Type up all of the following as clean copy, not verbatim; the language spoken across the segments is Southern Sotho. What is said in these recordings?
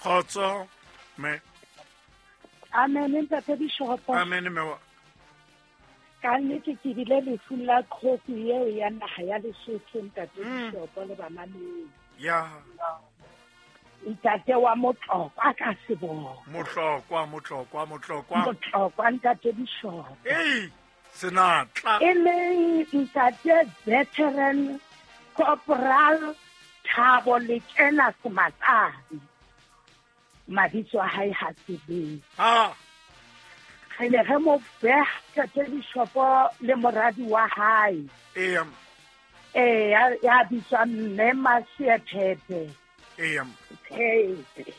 Kgotso me. Amen ntate Bishopo. Amen me wa. Ka nnete ke bile lefung la kgosi eo ya naga ya Lesotho ntate Bishopo le bamamedi. Ya. Ntate wa Motlokwa ka seboko. Motlokwa, Motlokwa, Motlokwa. Motlokwa ntate Bishopo. Ei, senatla. E leng ntate veteran Corporal Thabo Lekena Sematsane. Mabitso a hae ha tsebeng. Ah. Re ne re mo beha ntate Bishopo le moradi wa hae. Eya. Eh, ya bitswang Mme Masiephephe. Eya. Phephe.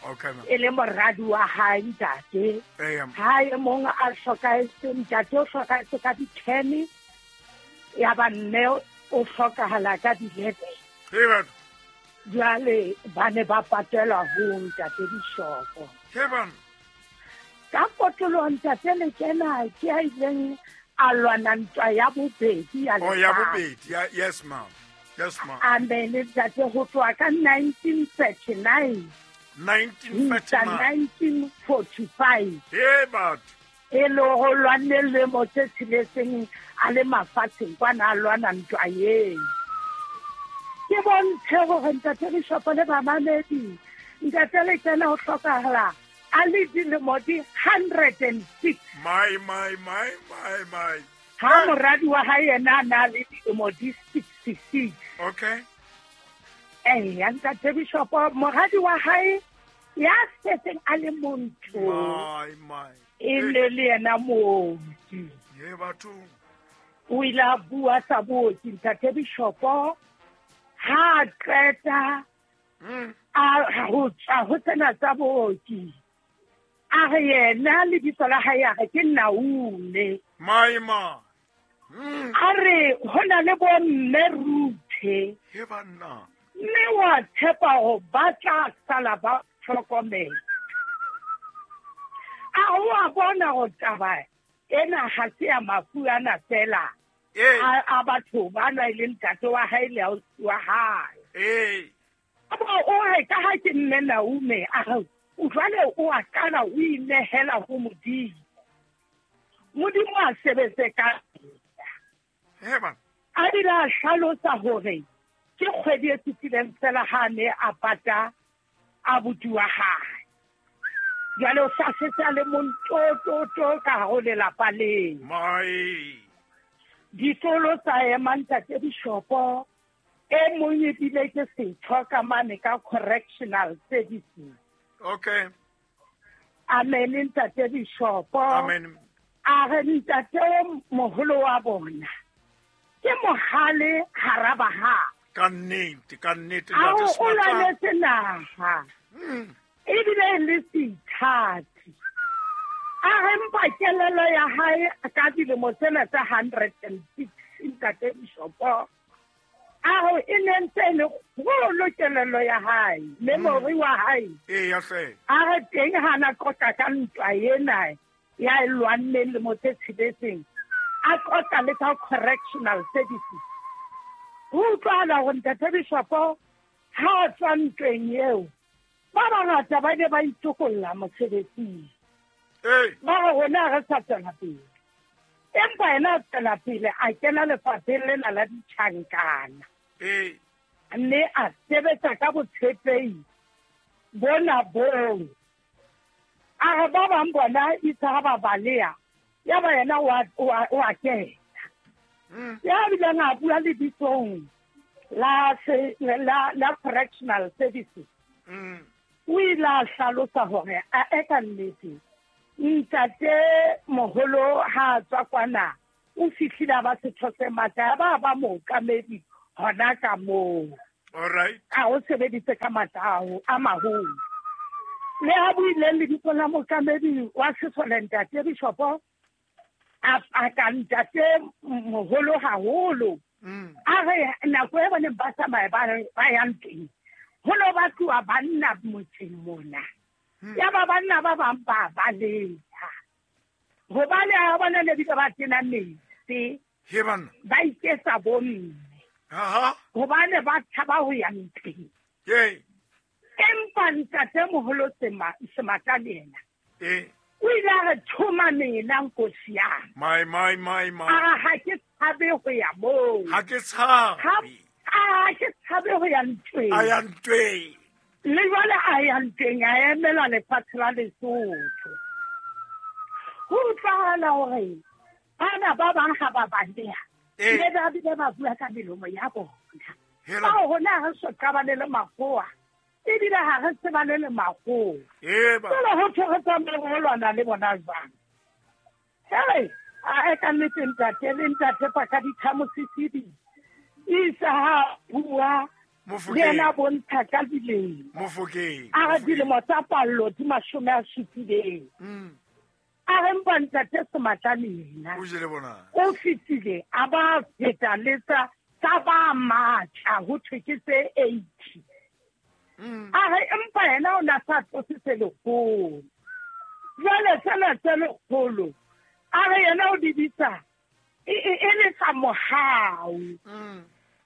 Okay, ma'am. E le moradi wa hae ntate. Eya. Ha e mong a hlokahetse, ntate o hlokahetse ka di-10, ya ba mme o hlokahala ka di-11. Hey, batho. Jwale ba ne ba patelwa ho ntate Bishopo. Hey, bana. Ka potoloho ntate Lekena ke a ileng a lwana ntwa ya bobedi ya Oh, ya lefatshe. bobedi. Ya, yes, ma'am. Yes, ma'am. Amen ntate, ho tloha ka 1939 1939. 1945. Hey, batho. E le ho lwanne lemo tse tsheletseng a le mafatsheng kwana a lwana ntwa eo. Ke bontshe hore ntate Bishopo le bamamedi, ntate Lekena ho hlokahala a le dilemo di 106. My, my, my, my, my. Ha moradi wa hae yena a na le dilemo di 66. Okay. Eya ntate Bishopo, moradi wa hae ya setseng a le montsho My, my. e ne le yena mooki. Ye batho. O ile a bua sa booki ntate Bishopo, ha a qeta a ho tswa ho tsena tsa booki. A re yena lebitso la hae a re ke Naume. My, my. A re ho na le bo mme Ruthe. He banna. Mme wa tshepa hore ba tla sala ba hlokomela. A o a bona hore taba ena ha se ya mafu ana fela. A batho ba na e leng ntate wa hae le ausi wa hae. A ba o re ka ha ke mme Naume, a re o jwale o a qala o inehela ho Modimo. Modimo a sebetse ka He bana. A bile a hlalosa hore ke kgwedi e fetileng fela ha ne a pata abuti wa hae. Jwale o sa setse a le mong to, to, to ka hare ho lelapa leo. My. Ditolo tsa ema ntate Bishopo, e mong ebile ke setho ka mane ka correctional services. Okay. Amen ntate Bishopo. Amen. A re ntate o moholo wa bona ke mohale hara baha. Ka nnete, ka nnete, A ntate o Sematsane. lwanetse naha. Ebile le seithati. A re mpa kelello ya hae ka dilemo tsena tsa 106 ntate Bishopo. A re e ne ntse e le kgolo kelello ya hae, memory wa hae. Eya hle. A re teng ha na qoqa ka ntwa ena ya e lwanneng lemo tse tsheletseng, a qoqa le ka correctional services. Ho utlwahala hore ntate Bishopo ha a tswa ntweng eo, ba bangata ba ne ba itokolla mosebetsing. Ei. Ba re rona ha re sa tswela pele. Empa yena a tswela pele a kena lefapheng lena la ditjhankana. Ei. Mme a sebetsa ka botshepehi bona boo. A re ba bang bona itse ha ba baleha, ya ba yena o a kena. Ya bileng a bua lebitsong la correctional services. O ile a hlalosa hore a e ka nnete ntate moholo ha a tswa kwana o fihlile a ba setho se matla, ya ba ba mookamedi hona ka moo. All right. A o sebeditse ka matla ao a maholo. Le ha buileng lebitso la mookamedi wa sesole ntate Bishopo, a ka ntate moholo haholo. A re nako e boneng ba tsamaya ba yang teng, ho no batluwa banna motseng mona. Ya ba banna ba bang ba baleha. Hobane ha bona ne bile ba tena metsi. He banna. Ba iketsa bomme. Aha. Hobane ba tshaba ho ya ntweng. Yey. Empa Empa ntate moholo Sematlane yena o ile a re thoma mena nkosi ya my my my my a ha ke tshabe ho ya moo, ha ke tshabe, ha ke tshabe ho ya ntweng, a ya ntweng le jwale a ya ntweng, a emela lefatshe la Lesotho. Ho utlwahala hore bana ba bang ha ba baleha le ba bile ba bua ka melomo ya bona. Bao rona re so qabane le makgowa, ebile ha re tsebane le makgowa. Jwale ho thwe re tsamaye re lwana le bona jwang? Hei, a ka nnete ntate le ntate Pakadithamo Sesidi isa ha bua le yena bontsha ka dilemo. A re dilemo tsa pallo di 70. A re mpa ntate Sematlane yena o fetile a ba feta le tsa ba matla ho thwe ke tse 80. A re empa yena o na sa tlose tse lekgolo. Jwale tsena tse lekgolo a re yena o di bitsa e le tsa mohau.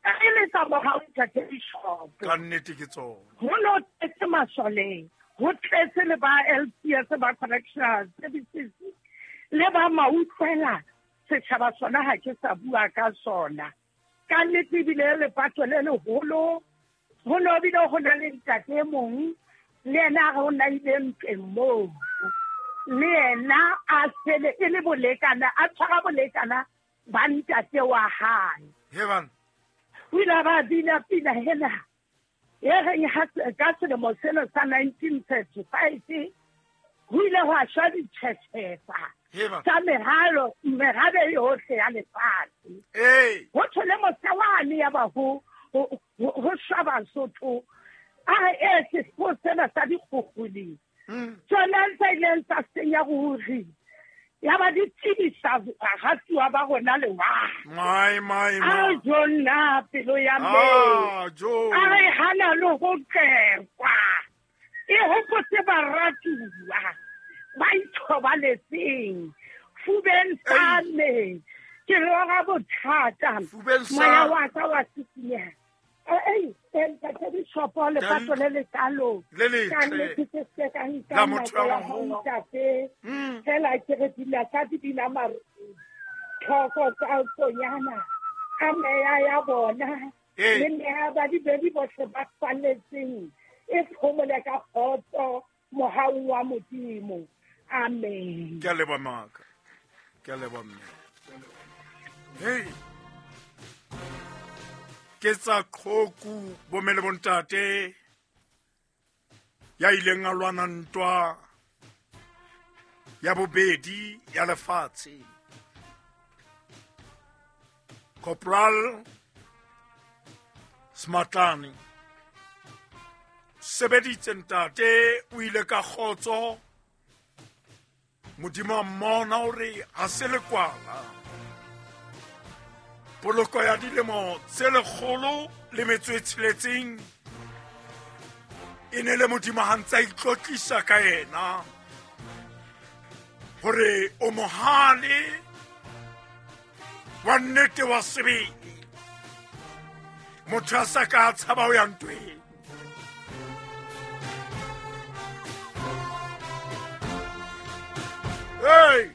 E le tsa mohau ntate Bishop. Ka nnete ke tsona. Ho no tletse masoleng, ho tletse le ba LCS, ba correctional services, le ba mautlwela setjhaba sona ha ke sa bua ka sona. Ka nnete ebile lepato le leholo. Ho no bile ho na le ntate e mong le yena a re o na ile ntweng moo, le yena a sele e le bolekana, a tshwara bolekana ba ntate wa hae. O ile a ba bina pina hena e reng ka selemo sena sa 1935 ho ile hwa shwa ditjhetjhefa tsa merabe yohle ya lefatshe. Ho thwe le mosewane ya ba ho shwa Basotho. A re e sefo sena sa dikgukguni tsona tse ileng tsa senya ruri, ya ba di tsebisa baratuwa ba rona lewatle. My my my a jonna pelo ya mme a re hana le ho qekwa, e hopotse baratuwa ba ithobaletseng fubeng sa me ke lora bothata moya wa ka wa sisinyeha. Ei, ntate Bishop, lepato le lekalo ka nnete ke se ka nka nako ya ho ntate. Fela ke re dila ka di bina maru tlhoko tsa tsonyana ka meya ya bona le meya ba dibedi bohle ba falletseng e phomole ka kgotso mohaung wa Modimo. Amen. Ke a leboha maka, ke a leboha mme. Hey, ke tsa qhoku bomme le bontate ya ileng a lwana ntwa ya bobedi ya lefatshe. Corporal Sematlane sebeditse ntate, o ile ka kgotso. Modimo a mmona hore ha se lekwala. Poloko ya dilemo tse 106 e ne le Modimo ha ntse a itlotlisa ka yena hore o mohale wa nnete wa sebele, motho a sa ka tshaba ho ya ntweng. Hey!